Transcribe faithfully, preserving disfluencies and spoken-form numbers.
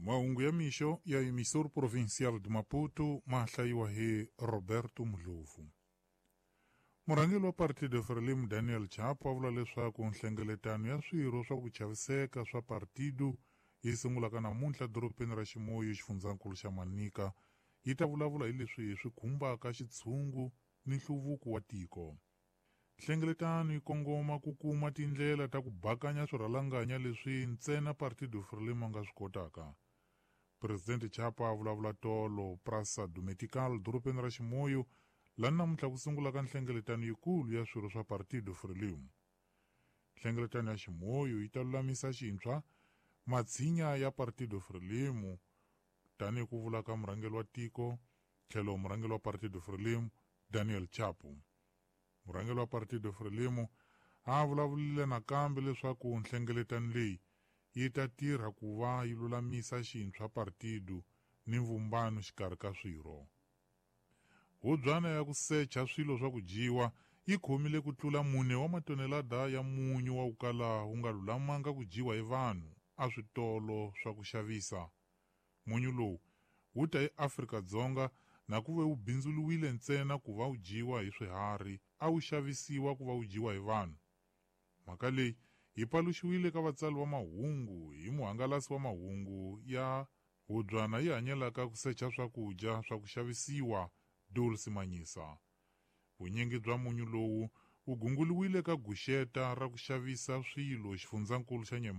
Mahungu ya mixo ya Emissor Provincial de Maputo ma hlayiwa hi Roberto Mdlovu. Murhangeri wa Partido Frelimo Daniel Chapo a vula leswaku nhlengeletano ya swirho swa ku chaviseka swa partido yi sungulaka namuntlha dorobeni ra Chimoio xifundzankulu xa Manica yi ta vulavula hi leswi swi khumbaka xitshungu ni nhluvuko wa tiko. Nhlengeletano yi kongoma ku kuma tindlela ta ku bakanya swirhalanganya leswi ntsena Partido Frelimo a nga swi kotaka. Presidente Chapo a vulavula tolo Praça do Metical dorobeni ra Chimoio laha namuntlha ku sungulaka nhlengeletano yikulu ya swirho swa Partido Frelimo. Nhlengeletano ya Chimoio yi ta lulamisa xintshwa matshinya ya Partido Frelimo tanihi ku vula ka murhangeri wa tiko tlhelo murhangeri wa Partido Frelimo Daniel Chapo. Murhangeri wa Partido Frelimo a vulavurile nakambe leswaku nhlengeletano leyi yi ta tirha ku va yi lulamisa xintshwa partido ni mvumbano xikarhi ka swirho. Hubyana ya ku secha swilo swa ku dyiwa yi khomile ku tlula mune wa matonelada ya munyu wa ku kala wu nga lulamanga ku dyiwa hi vanhu a switolo swa ku xavisa. Munyu lowu wu ta eAfrika-Dzonga na ku ve wu bindzuriwile ntsena ku va wu dyiwa hi swiharhi a wu xavisiwa ku va wu dyiwa hi vanhu. Mhaka leyi yi paluxiwile ka vatsali va mahungu hi muhangalasi wa mahungu ya hubyana yi hanyelaka ku secha swakudya swa ku xavisiwa Dulce Manyisa. Vunyingi bya munyu lowu wu gunguriwile ka guxeta ra ku xavisa swilo xifundzankulu xa Nyema